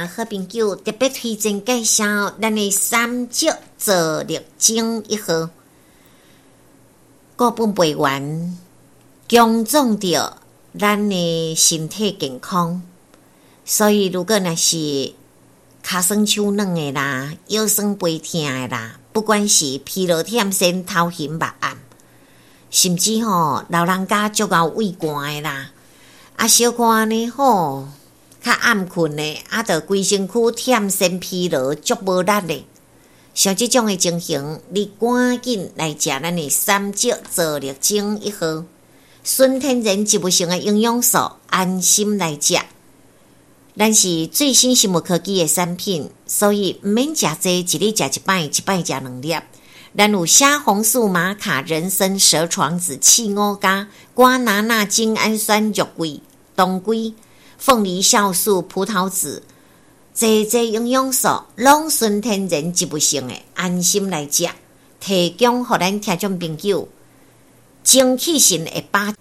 好朋友特別推薦介紹咱的三石造力精一號，固本培元，強壯著咱的身體健康。所以，如果若是跤酸手軟的啦，腰酸背疼的啦，不管是疲勞忝身、頭暈目暗，甚至吼老人家足𠢕畏寒的啦，啊小可按呢吼，較暗睏的，啊著規身軀忝身疲勞，足無力的，像這種的情形，你趕緊來食咱的三石造力精一號，純天然植物性的營養素，安心來食。咱是最新生物科技的產品，所以毋免食濟，一日食一擺，一擺食兩粒。咱有蝦紅素、瑪卡、人參、蛇床子、刺五加、瓜拿納、精氨酸、肉桂、當歸、鳳梨酵素、葡萄籽，濟濟營養素，攏純天然植物性的，安心來食，提供予咱聽眾朋友，精氣神會飽。